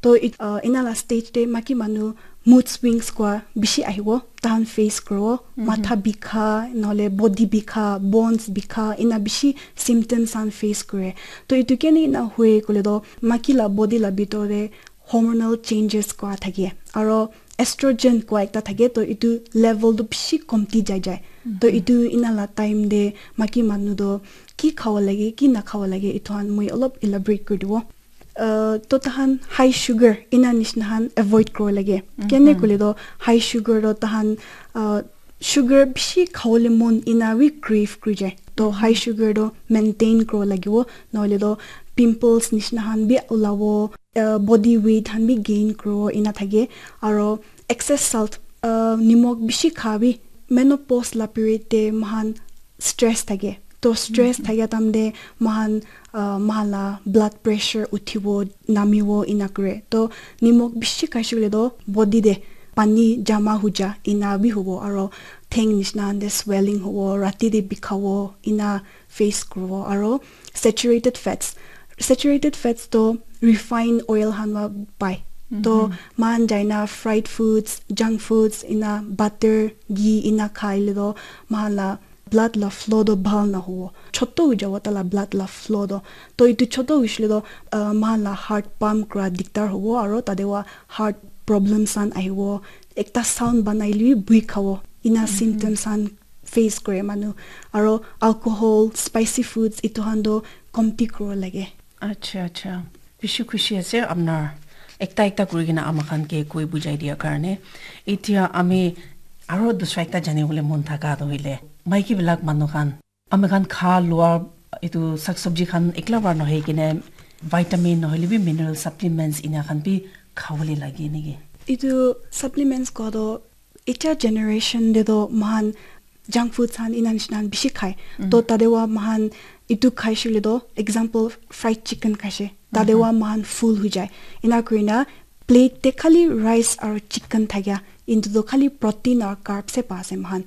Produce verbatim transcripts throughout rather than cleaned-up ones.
To it, uh, ina la stage te maki manu mood swings kua bishi ahibo, tahan face kuro, matha bikha, nole body bikha, bones bikha, ina bishi symptoms han face kure. To itu kene ina hue kule do maki la body la bitor te hormonal changes kua thake. Aro estrogen kua ekta thake, to itu level tu bishi komti jai jai. To itu ina la time te maki manu do ki khawa lage, ki na khawa lage, itu han mui olop elaborate kuri dibo. Uh, to tahan high sugar ina nishna han avoid kuro lage. Kene kule do high sugar do tahan, uh, sugar bishi khawole mon ina wi crave kuri jai. To high sugar do maintain kuro lagibo, nohole do pimples nishna han bi ulabo, uh, body weight han bi gain kuro ina thake. Aro excess salt, uh, nimok bishi kha bi menopause la period te mahan stress thake. To stress thake tam de mahan, uh, mahan la blood pressure uthibo, namibo ina kure. To nimok bishi khaishe kule do body de pani jama huja ina bi hubo, aro theng nishna han de swelling hubo, rati de bikhabo, ina face kurubo. Aro saturated fats, saturated fats to refined oil han wa pai. To mahan jaina fried foods, junk foods, ina butter, ghee ina khaile do mahan la blood la flow do bhal na hubo. Choto hui jabo ta la blood la flow do. To itu choto huishile do, uh, mahan la heart pump kura diktar hubo, aro tade wa heart problems han ahibo. Ekta sound banaile bi bui khabo. Ina symptoms han face kure manu. Aro alcohol, spicy foods, itu han do komti kuro lage. Acha, acha. Bishi khushi ase apnar ekta ekta kuri kena ama khan ke koi bujai dia karne. Etia ami aro dusra ekta jani bole mon thaka to hoile, maiki bilak manu khan ami khan kha lua itu sak sabji khan ekla bar nohoi kene vitamin nohole bi mineral supplements ina khan bi khabole lage niki? Itu supplements ko do etia generation de do mahan junk foods han ina nishna han bishi khai. To tade wa mahan itu khaishe le do, example, fried chicken khaishe. Tade wa mahan full hui jai. Ina kurina plate te khali rice aro chicken thakya. Into do khali protein aro carbs he pa ase mahan.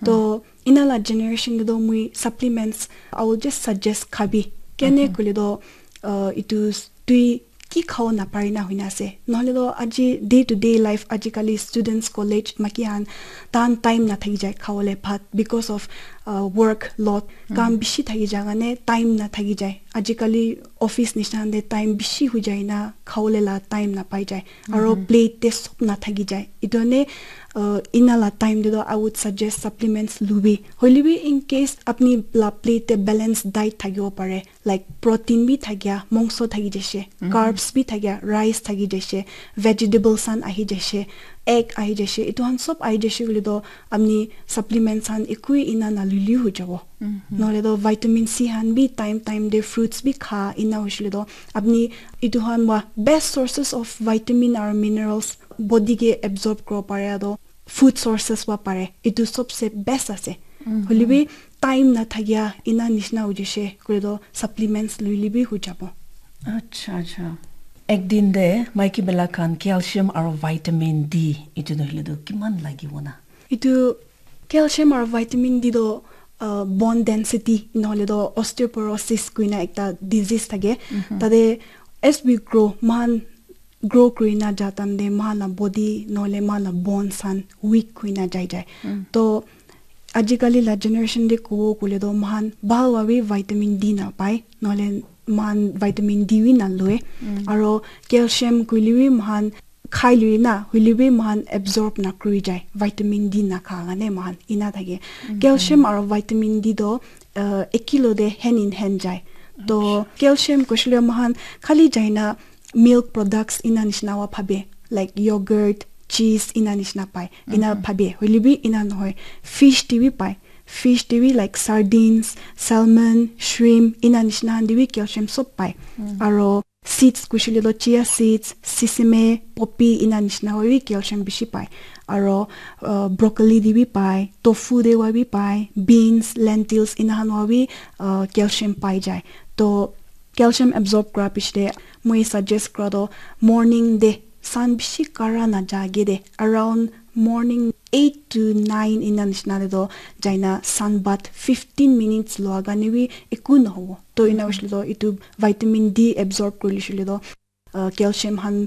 To ina la generation de do mui supplements, I will just suggest khabi. Kene kule do, uh, itu s-, tui ki khao napare na huina ase. Nohole do aji day to day life, ajikali students, college, maki han, tan time na thaki jai khaole bhat because of, uh, work load. Kam bishi thaki jai karne time na thaki jai. Ajikali office nishna de time bishi hui jai na khaole la time na pai jai. Aro plate te sob na thaki jai. Itu ne, uh, ina la time de do I would suggest supplements lubi. Hoile bi in case apni la plate te balance diet thakibo pare, like protein bi thakya, mongso thaki jaise, carbs bi thakya, rice thaki jaise, vegetables han ahi jaise, egg ahi jaise, itu han sob ahi jaise kule do apni supplements han ekui ina na lili hui jabo. Nohole do vitamin C han bi time time de fruits bi kha ina hoishile do apni itu han wa best sources of vitamin aro minerals body ke absorb kuro pare do food sources wa pare. Itu sobse best ase. Hoile bi time na thakya ina nishna hui jaise kule do supplements luile bi hui jabo. Acha, acha. Ek din de maiki bela khan calcium aro vitamin D itu nohole do kiman lagibo na? Itu calcium aro vitamin D do, uh, bone density nohole do osteoporosis kuina ekta disease thake. Tade as we grow, mahan grow kurina ja time de mahan la body nohole mahan la bones han weak kuina jai jai. To ajikali la generation de kubo kule do mahan bhal wa bi vitamin D na pai, nohole mahan vitamin D wi na lue. Aro calcium kuile wi mahan khai lui na, hoile bi mahan absorb na kuri jai, vitamin D na kha karne mahan ina thake. Calcium aro vitamin D do, uh, ekilo de hand in hand jai. To calcium kushile mahan khali jaina milk products ina nishna wa phabe, like yogurt, cheese ina nishna pai. Ina phabe, hoile bi ina nohoi. Fish te bi pai. Fish te bi like sardines, salmon, shrimp, ina nishna han te bi calcium sob pai. Aro seeds kushile do chia seeds, sesame, poppy ina nishna wa bi calcium bishi pai. Aro, uh, broccoli te bi pai, tofu te wa bi pai, beans, lentils ina han wa bi, uh, calcium pai jai. To calcium absorb kura piche de moi suggest kura do morning de sun bishi kara na jage de around morning eight to nine ina nishna de do jaina sun bath fifteen minutes lua karne bi eku nohobo. To ina hoishile do itu vitamin D absorb kurile shile do, uh, calcium han